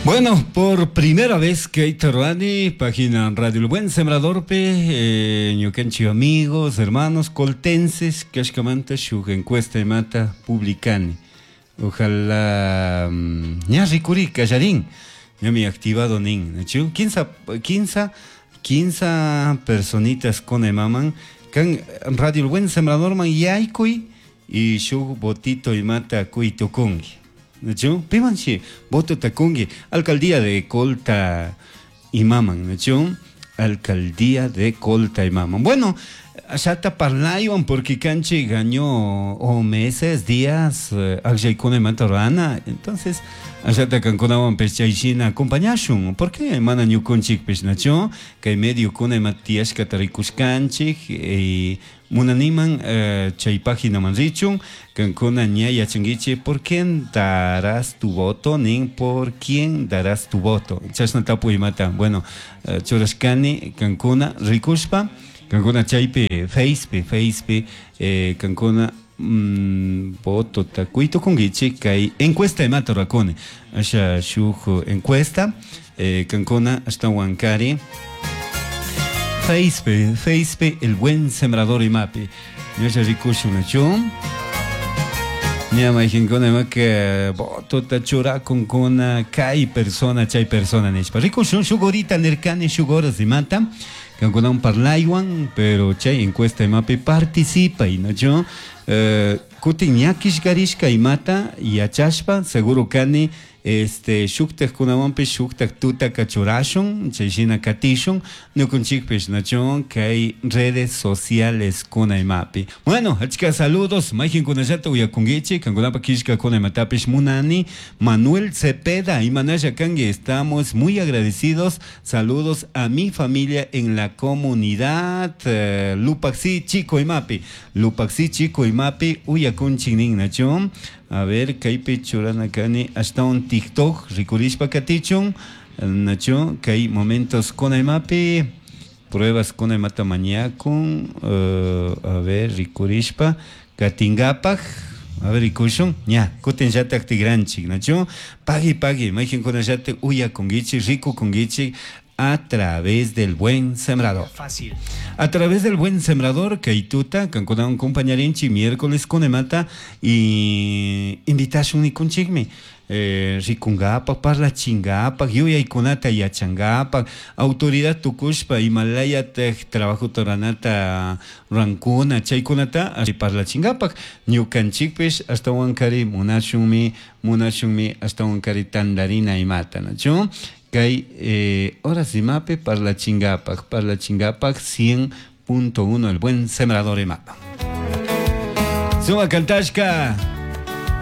Bueno, por primera vez kayta rurani página Radio El Buen Sembradorpi eh, ñukanchik amigos, hermanos coltenses kashkamanta shuk encuesta imata publicani. Ojalá ña rikuri kallarin, ñami activado nin, nachu? Quinsa, quinsa, quinsa personitas con imaman kan Radio El Buen Sembradorman yaykuy y shuk votito imata kuy tukunki. Nachu? Pimanshi votota kunki alcaldía de Colta imaman, nachu? Alcaldía de Colta imaman. Bueno, ashata parlaywan porque kanchik año o meses, días, akllaykuna imata rurana, entonces ashata kankunawanpish chay shina acompañashun, porque mana ñukunchikpish, nachu? Kay mediokuna ima tiyashkata rikushkanchik y munaniman chay paginaman richun, kankuna ña yachankichik por quién darás tu voto nin, por quién darás tu voto, chashna tapuy imata, bueno, churashkani kankuna rikushpa, kankuna chaypi Facepi, Facepi kankuna votota kuy tukunkichik kay encuesta imata rurakuni, asha shuk encuesta kankuna ashtawankari Facepi, Facepi El Buen Sembrador imapi, ñasha rikushun nachu, ña mayqinkuna imaka votota churakunkuna kay persona chay persona nishpa, rikushun shuk horita nirkani shuk horas imata kankunawan parlaywan, pero chay encuesta imapi participay, nachu, kutin ña killkarishka imata yachashpa seguro kani este shuktajkunawanpish shuktaj tutaka churashun, chay shina katishun ñukunchikpish, nachu, kay redes sociales kuna imapi. Bueno, achka saludos mayqinkunallata uyakunkichik, kankunapak killkakuna imatapish munani. Manuel Cepeda, imanalla kanki, estamos muy agradecidos. Saludos a mi familia en la comunidad Lupaxi Chico imapi, Lupaxi Chico imapi uyakunchik nin, nachu. A ver, kaypi churana kani ashtawan TikTok rikurishpa katichun, nachu, kay momentos kuna imapi pruebas kuna imata mañakun, a ver, rikurishpa katinkapak, a ver, rikushun, ña, kutinllatak tigranchik, nachu, pagui pagui, mayqinkunallatak uyakunkichik, rikukunkichik a través del Buen Sembrador. Fácil. A través del Buen Sembrador, kay tuta, kankunawan compañarinchik miércoles kunemata y invitashun nikunchikmi, rikungapak, parlachingapak, yuyaykunata yachangapak, autoridad tukushpa imalayatak trabajota ruranata rurankuna, chaykunata parlachingapak, ñukanchikpish ashtawankari munashunmi, munashunmi ashtawankari tandarina imata, nachu? Kay horas imapi parlachingapak, parlachingapak 100.1 El Buen Sembrador imapa. Suma kantashka.